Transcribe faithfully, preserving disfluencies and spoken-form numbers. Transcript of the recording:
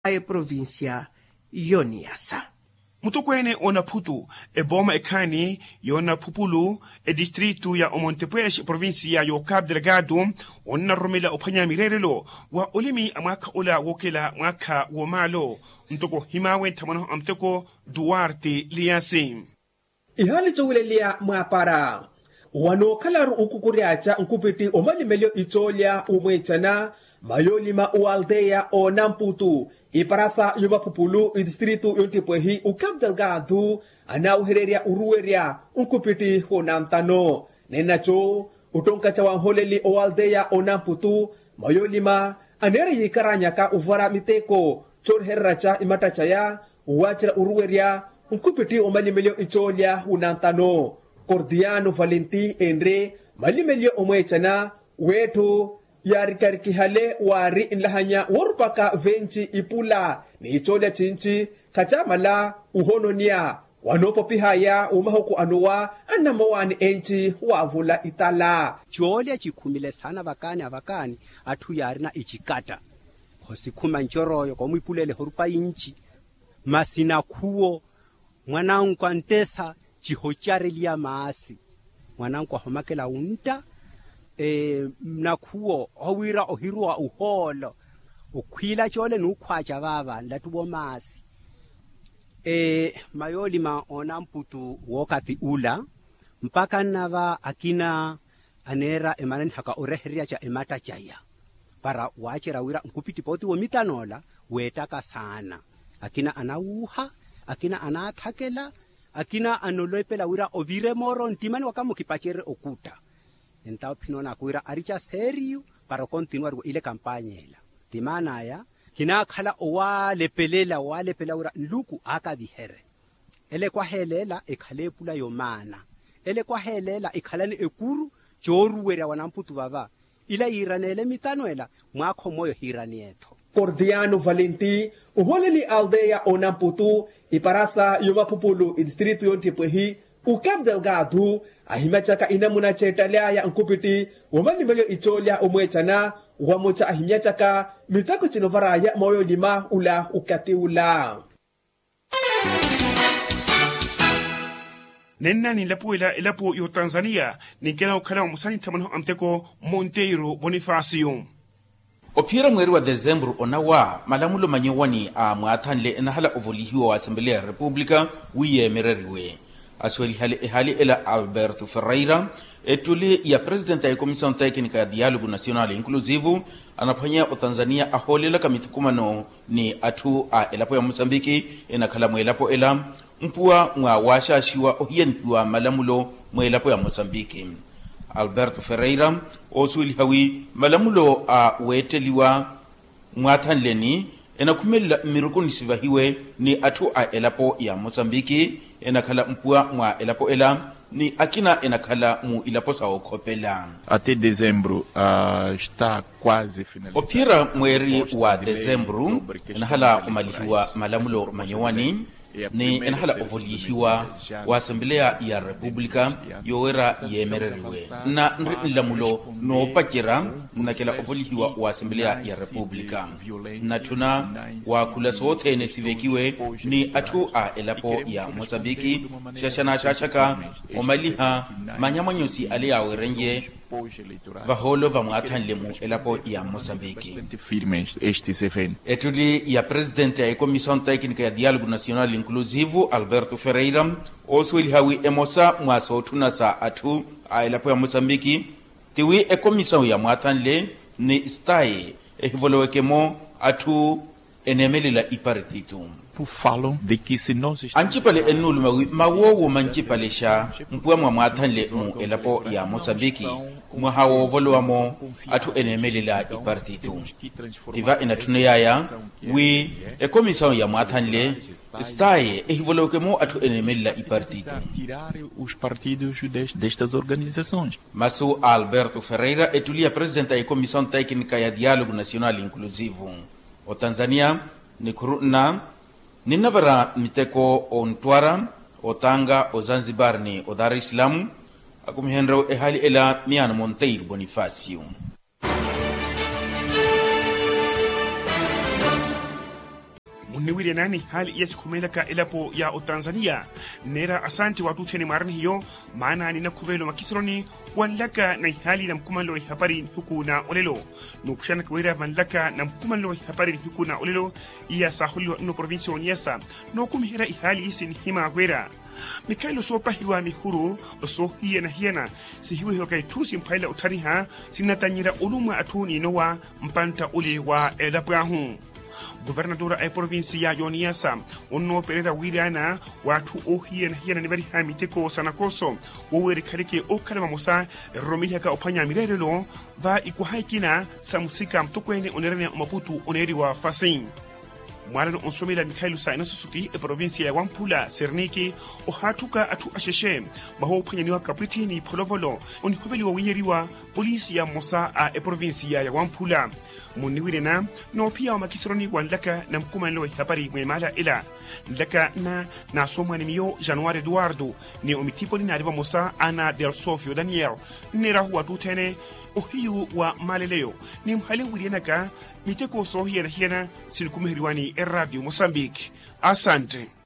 Eprovincia y'oniyasa. Mutokweene onaphutu, ebooma ekhaani y'onaphupulu, edistritu ya omontepwexe eprovincia y'okapu delgado, onnaroromela ophwanya mireerelo wa olimi a mwaakha ola wookela mwaakha w'omaalo, ntoko ohimaawe nthamwanaho a muteko duarte liyasi. Ihaali coowileliya mwaapara, wanookhalaru okukury'aca nkupitti omalimelyo icoolya omweecana mayoolima owalteya onamputu, iparasa yomaphupulu itistritu yonttipwehi okapu delgado, anaawehererya oruwerya nkupitti onantano. Nennaco ottonkaca wanholeli owalteya onamputu, mayoolima aneera yiikaranyaka ovara miteko coorihereraca imatta caya, owaacira oruwerya nkupitti omalimelyo icoolya onantano. Kordiano valenti enre malimelyo omweecana w'etthu yaarikarikihale waari nlahanya woorupaka venci ipula n'icoolya cinci, khacaamala ohononia wanoopopihaya omahuku anowa annamowaani enci waavula itala. Coolya cikhumile saana vakaani avakaani atthu yaarina icikatta, khosikhuma ncor'oyo koomwipulela ehorupa inci, masi nakhuwo mwananku antesa cihocareliya maasi. Mwananku ahomakela wuntta nakhuwo owira ohiruwa uhoolo okhwiila coole n'ukhwaaca vaava nlattuwo maasi. Mayoolima oonamputu wookathi ula mpakha nnava akina aneera emananiha ka orehereryaca ematta caya para waacerya wira nkupitti pooti womitan'ola weettaka saana. Akina anawuuha, akina anaathakela, akina anolepela wira ovire mooro nttimani waka mukipacerye okutta. Entawo phinoonaka wira arica seeriyu para okontinuwariwa ile kampanya ela. Timaan'aya khinaakhala owaalepelela owaalepelela wira nluku aakaviherye. Ele ekwahelela ekhale epula yomaana. Ele ekwahelela ekhalani ekuru cooruwerya wanamputu vava. Ila yiiraneele mitano ela mwaakha omooyo hiirani ettho. Kordiano valenti ohooleli aldeya onamputu, iparasa yomaphupulu itistritu yonttipwehi okapu delgado, ahimyacaka inamuna ceettaly'aya nkupitti womalimelyo icoolya omweecana, wamuca ahimyacaka miteko cinovar'aya mooyolima ula okathi ula. Nenna ninlapuwela elapo y'otanzaniya ninkela okhala vamosa ni nthamwanaho a muteko monteiro bonifasio. Ophiyerya mweeri wa desemburu onawa malamulo manyowani a mwaathanle enahala ovolihiwa wa asembeleya ya repupulika wi yeemereriwe. Asuwelihale ehaali ela alberto ferreira, ettuli ya presitenti a ekomisao tekinika ya dialogo nasional inclusivo, anaphwanya otanzaniya ahoolelaka mithukumano ni atthu a elapo ya mosambiki enakhala mweelapo ela mpuwa mwa waaxaaxiwa ohiyanihiwa malamulo mweelapo ya mosambiki. Alberto ferreira oosuweliha wi malamulo a weetteliwa mwaathanleni enakhumelela mmiruku nisivahiwe ni atthu a elapo ya mosambiki enakhala mpuwa mwa elapo ela ni akina enakhala mu ilapo sa okhopela. Até dezembro está quase finalizado. Ophiyerya mweeri wa desembru enahala omalihiwa malamulo manyowani ni enahala ovolihiwa wa asembeleya ya repupulika yoweera yeemereriwe. Nna nri nlamulo noopacerya nnakela ovolihiwa wa asembeleya ya repupulika. Nnatthuna waakhula sothene sivekiwe ni atthu a elapo ya mosambiki xaxanaaxaxaka omaliha manyamwanyosi ale yaawerenye vahoolo vamwaathanle mu elapo ya mosambiki. Ettuli ya presitenti ya ekomisao tekinika ya dialogo nasional inclusivo alberto ferreira oosuweliha wi emosa mwa sootthuna sa atthu a elapo ya mosambiki ti wi ekomisao ya mwaathanle ni staye ehivoloweke-mo atthu eneemelela iparititu. Ancipale ennuuluma wi mawoowo mancipale xa mpuwa mwa mwaathanle mu elapo ya mosambiki mwaha woovolowa-mo atthu eneemelela iparititu. Tiva enatthuneyaya wi ekomisao ya mwaathanle staye ehivoloweke-mo atthu eneemelela iparititu. Masu a alberto ferreira ettuli ya presitenti a ekomisao tekinika ya dialogo nasional inclusivo. Otanzaniya nikhuru nna ninnavara miteko ontwara otanga ozanzibar ni odar islamu. Akumihenrye ehaali ela miyaano monteiro bonifasio. Onniwirya naani ihaali iya sikhumeelaka elapo ya otanzaniya. Nneera asantti waattuthene mwaarani hiyo maana ni nakhuveelo makisironi wanlaka na ihaali na mukhumanlo wa ihapari nihiku na olelo. Nuupuxanaka wira vanlaka na mukhumanlo wa ihapari nihiku na olelo iya saaholeliwa nno provincia ya oniyasa. Nookumiherya ihaali iisi nihimaakwera mikhalelo soopahiwa mihuru soohiyana-hiyana sihiwehiwaka itthu simphwalela otthaniha sinnatanyerya olumwa atthu n'inowa mpantta ole wa elapo ahu. Kuvernatora a eprovinsiya y'oniyasa onnoopererya wiiraana w'atthu oohiyana-hiyana nivariha miteko sa nakooso woweera ekhaleke ookhala vamosa eroromelihaka ophwanya mireerelo va ikwaha ikina sa musika mutokweene oneeraniya omaputu oneeriwa fasi. Mwaalano onsomela mikhalelo sa enasusuki eprovinsiya ya wamphula serniki ohaatthuka atthu axexe vahoophwanyaniwa kapwithi n'ipholovolo onihoveliwa wiiyeriwa polisi ya mmosa a eprovinsiya ya wamphula. Munniwirena noophiya wa makisironi wanlaka na mukhumanelo wa ihapari mweemaala ela nlaka nna naasomwani miyo januwari eduwardo ni omithiponi naari vamosa ana delsofio daniel nneerahu wattuthene ohiyu wa maaleleyo ni muhali nwiriyanaka miteko soohiyana-hiyana sinikumiheryiwani erraatiyo mosambiki. Asantte.